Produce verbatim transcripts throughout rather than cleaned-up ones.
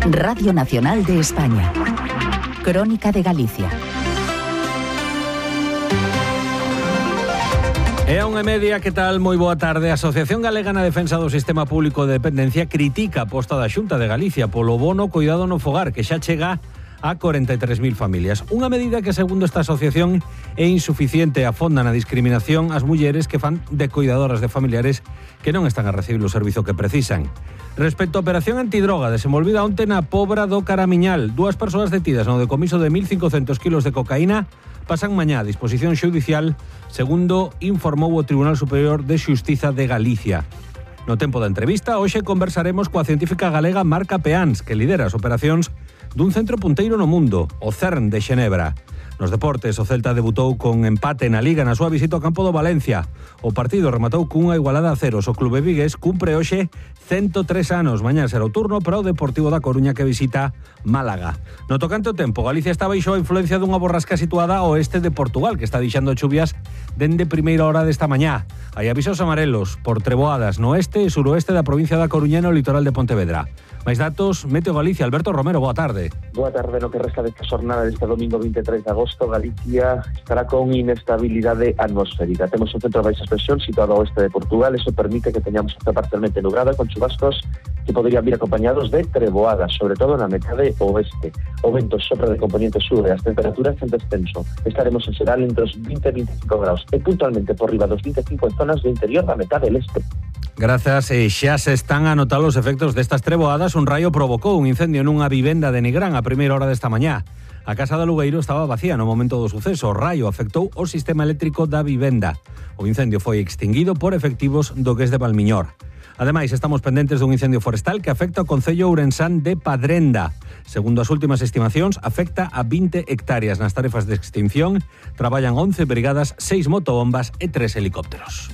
Radio Nacional de España. Crónica de Galicia. E a unha e media, que tal? Moi boa tarde. A Asociación Galega na Defensa do Sistema Público de Dependencia critica a aposta da Xunta de Galicia polo bono Coidado no Fogar, que xa chega a corenta e tres mil familias. Unha medida que, segundo esta asociación, é insuficiente e afonda na discriminación ás mulleres que fan de coidadoras de familiares que non están a recibir o servizo que precisan. Respecto á operación antidroga desenvolvida onte na Pobra do Caramiñal, dúas persoas detidas no decomiso de mil cincocentos kilos de cocaína pasan mañá a disposición xudicial, segundo informou o Tribunal Superior de Xustiza de Galicia. No tempo da entrevista, hoxe conversaremos coa científica galega Marca Peáns, que lidera as operacións dun centro punteiro no mundo, o CERN de Xenebra. Nos deportes, o Celta debutou con empate na Liga na súa visita ao campo do Valencia. O partido rematou cunha igualada a ceros. O clube vigués cumpre hoxe ciento tres anos. Mañá será o turno para o Deportivo da Coruña, que visita Málaga. No tocante ao tempo, Galicia está baixo a influencia dunha borrasca situada ao oeste de Portugal, que está deixando chuvias dende primeira hora desta mañá. Hai avisos amarelos por treboadas no oeste e suroeste da provincia da Coruña e no litoral de Pontevedra. Mais datos, Meteo Galicia. Alberto Romero, boa tarde. Boa tarde. No que resta desta xornada deste domingo vinte e tres de agosto, Galicia estará con inestabilidade atmosférica. Temos un centro de baixas presións situado ao oeste de Portugal. Eso permite que teñamos esta parcialmente nublada con chubascos que poderían vir acompañados de treboadas, sobre todo na metade oeste. O vento sopra de componente sur e as temperaturas en descenso. Estaremos en xeral entre os vinte e vinte e cinco graus e puntualmente por riba dos vinte e cinco en zonas do interior da metade del este. Grazas, e xa se están a notar os efectos destas treboadas. Un raio provocou un incendio nunha vivenda de Nigrán a primeira hora desta mañá. A casa da Lugueiro estaba vacía no momento do suceso. O raio afectou o sistema eléctrico da vivenda. O incendio foi extinguido por efectivos do Gués de Valmiñor. Ademais, estamos pendentes dun incendio forestal que afecta o concello ourensán de Padrenda. Segundo as últimas estimacións, afecta a vinte hectáreas. Nas tarefas de extinción traballan once brigadas, seis motobombas e tres helicópteros.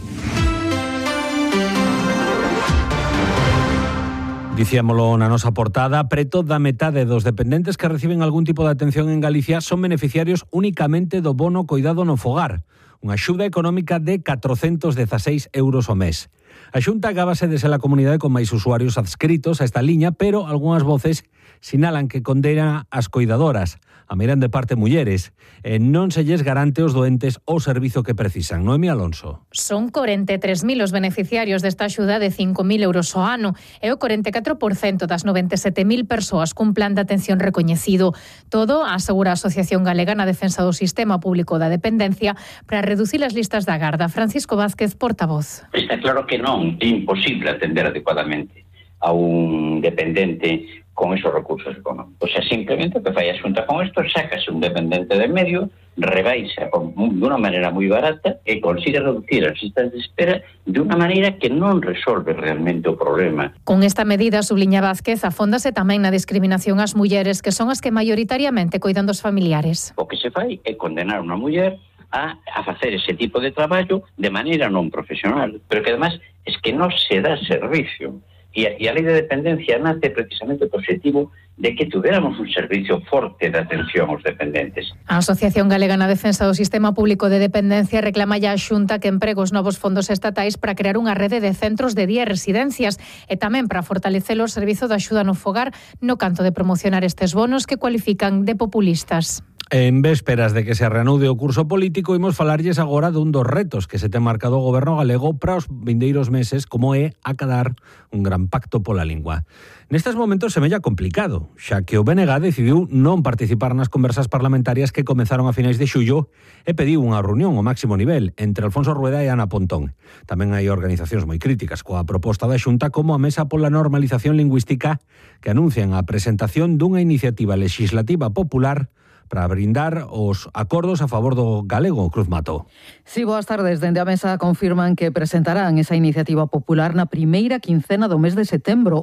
Dicíamolo na nosa portada, preto da metade dos dependentes que reciben algún tipo de atención en Galicia son beneficiarios únicamente do bono Coidado no Fogar, unha axuda económica de catrocentos dezaseis euros ao mes. A Xunta gábase de ser a comunidade con máis usuarios adscritos a esta liña, pero algunhas voces sinalan que condena as coidadoras, a miran de parte mulleres, e non se lles garante aos doentes o servizo que precisan. Noemi Alonso. Son corenta e tres mil os beneficiarios desta axuda de cinco mil euros ao ano e o corenta e catro por cento das noventa e sete mil persoas cun plan de atención recoñecido. Todo, asegura a Asociación Galega na Defensa do Sistema Público da Dependencia, para reducir as listas da agarda. Francisco Vázquez, portavoz. Está claro que non, é imposible atender adecuadamente a un dependente con esos recursos económicos. O sea, simplemente o que fai a Xunta con isto, sácase un dependente de medio, rebaixa de unha maneira moi barata e consigue reducir as listas de espera de unha maneira que non resolve realmente o problema. Con esta medida, subliña Vázquez, afóndase tamén na discriminación ás mulleres, que son as que maioritariamente coidan dos familiares. O que se fai é condenar unha muller a, a facer ese tipo de traballo de maneira non profesional, pero que además es que non se dá servicio. E a, e a lei de dependencia nace precisamente o objetivo de que tuviéramos un servicio forte de atención aos dependentes. A Asociación Galega na Defensa do Sistema Público de Dependencia reclama ya a Xunta que empregue os novos fondos estatais para crear unha rede de centros de día e residencias e tamén para fortalecer o servizo de axuda no fogar no canto de promocionar estes bonos que cualifican de populistas. En vésperas de que se reanude o curso político, imos falarlles agora dun dos retos que se ten marcado o goberno galego para os vindeiros meses, como é acadar un gran pacto pola lingua. Nestes momentos semella complicado, xa que o B N G decidiu non participar nas conversas parlamentarias que comezaron a finais de xullo e pediu unha reunión ao máximo nivel entre Alfonso Rueda e Ana Pontón. Tamén hai organizacións moi críticas coa proposta da Xunta, como a Mesa pola Normalización Lingüística, que anuncian a presentación dunha iniciativa legislativa popular para brindar os acordos a favor do galego. Cruz Mato. Sí, boas tardes. Dende a Mesa confirman que presentarán esa iniciativa popular na primeira quincena do mes de setembro.